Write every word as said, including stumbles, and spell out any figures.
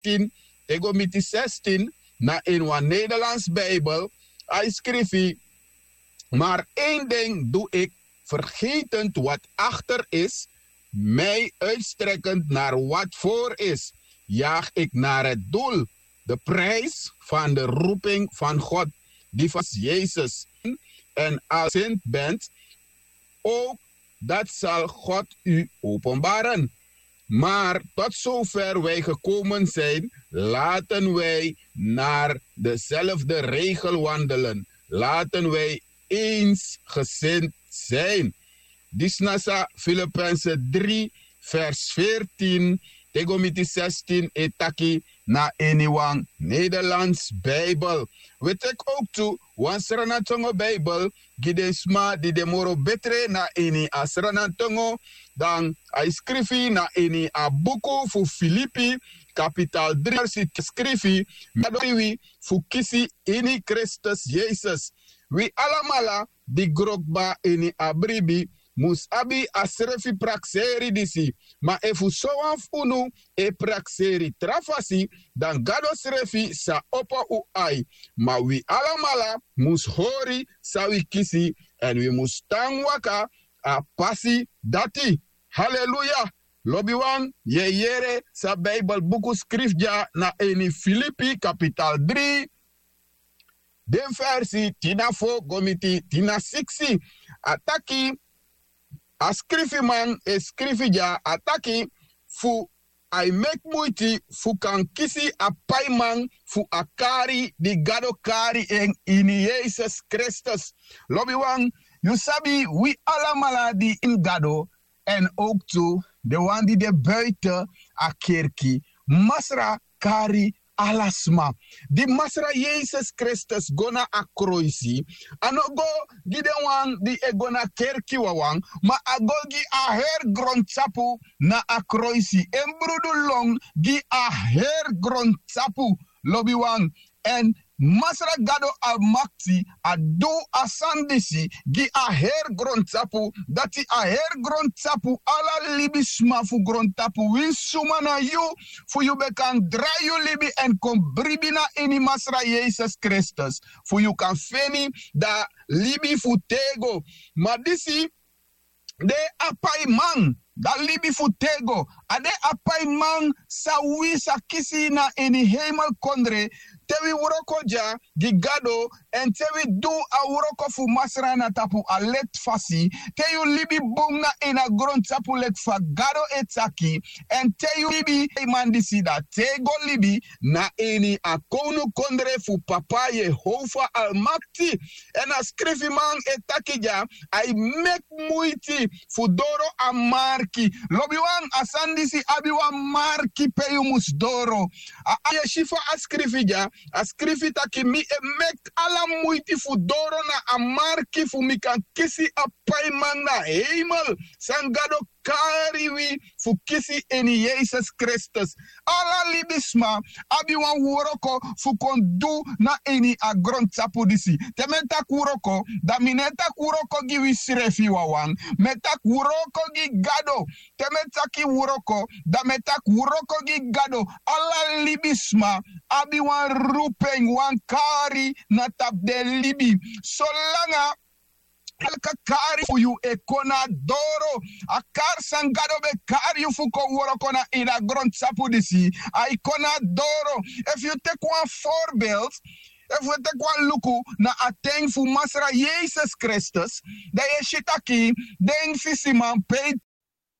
tin te go miti zestien, na ini wan Nederlands Bijbel, a e skrifi: Maar één ding doe ik, vergetend wat achter is, mij uitstrekkend naar wat voor is, jaag ik naar het doel, de prijs van de roeping van God, die van Jezus. En als u bent, ook dat zal God u openbaren. Maar tot zover wij gekomen zijn, laten wij naar dezelfde regel wandelen. Laten wij eensgezind zijn. Disi na san Filippenzen drie, vers veertien te go miti zestien e taki na ini wan Nederlands Bijbel. Wi e teki owktu wan Sranan tongo Bijbel gi den sma di de moro betre na ini a Sranan tongo, dan a e skrifi na ini a buku fu Filipi, kapital drie, versi skrifi: Mi e adori wi fu kisi ini Kristus Yesus. Wi alamala di gro kba ini a bribi mus abi a srefi prakseri disi. Ma efu sowan fu unu e prakseri tra fasi, dan Gado srefi sa opo un ai. Ma wi alamala mus hori san wi kisi, èn wi mus tan waka a pasi dati. Haleluya! Lobiwan, yu e yere san Bijbel buku skrifi dya na ini Filipi kapital dri, den versi tin na fo go miti tin na siksi. A taki, a skrifiman e skrifi dya, a taki fu a e meki muiti fu kan kisi a paiman fu a kari di Gado kari en ini Yesus Kristus. Lobiwan, yu sabi wi alamala di ini Gado, èn owktu den wan di de buiten a kerki, Masra kari ala sma. Di Masra Yesus Kristus go na a kroisi, a no go gi den wan di e go na kerki wawan, ma a go gi a heri grontapu na a kroisi. En brudu lon gi a heri grontapu, lobiwan. Èn Masra Gado Almakti a du a sani disi gi a heri grontapu, dati a heri grontapu ala libisma fu grontapu, winsi suma na yu, fu yu ben kan drai yu libi èn kon bribi na ini Masra Yesus Kristus, fu yu kan feni da libi fu têgo. Ma disi de a paiman, da libi fu têgo, a de a paiman san wi sa kisi na ini heimelkondre, te wi wroko dya gi Gado, èn te wi du a wroko fu Masra na tapu a leti fasi, te yu libi bun na ini a grontapu leki fa Gado e taki, èn te yu libi, a paiman disi da têgo libi na ini a kownukondre fu Papa Yehova Almakti. Èn a skrifiman e taki dya, a e meki muiti fu doro a marki. Lobiwan, a sani disi abi wan marki pe yu mus doro. A, a yu e si fa a skrifi dya, a skrifi taki mi e meki ala muiti fu doro na a marki fu mi kan kisi a paiman na heimel san Gado kari wi fu kisi ini Yesus Kristus. Ala libisma abi wan wroko fu kon du na ini a grontapu disi. Te mi e taki wroko, da mi no e taki wroko gi wisrefi wawan. Mi e taki wroko gi Gado. Te mi e taki wroko, da mi e taki wroko gi Gado. Ala libisma abi wan rupen, wan kari na tapu den libi. Solanga a kari fu yu e kon na doro, a kari san Gado ben kari yu fu kon wroko na ini a grontapu disi, a e kon na doro. Efu yu teki wan voorbeeld, efu yu teki wan luku na a ten fu Masra Yesus Kristus, da yu e si taki den fisiman pe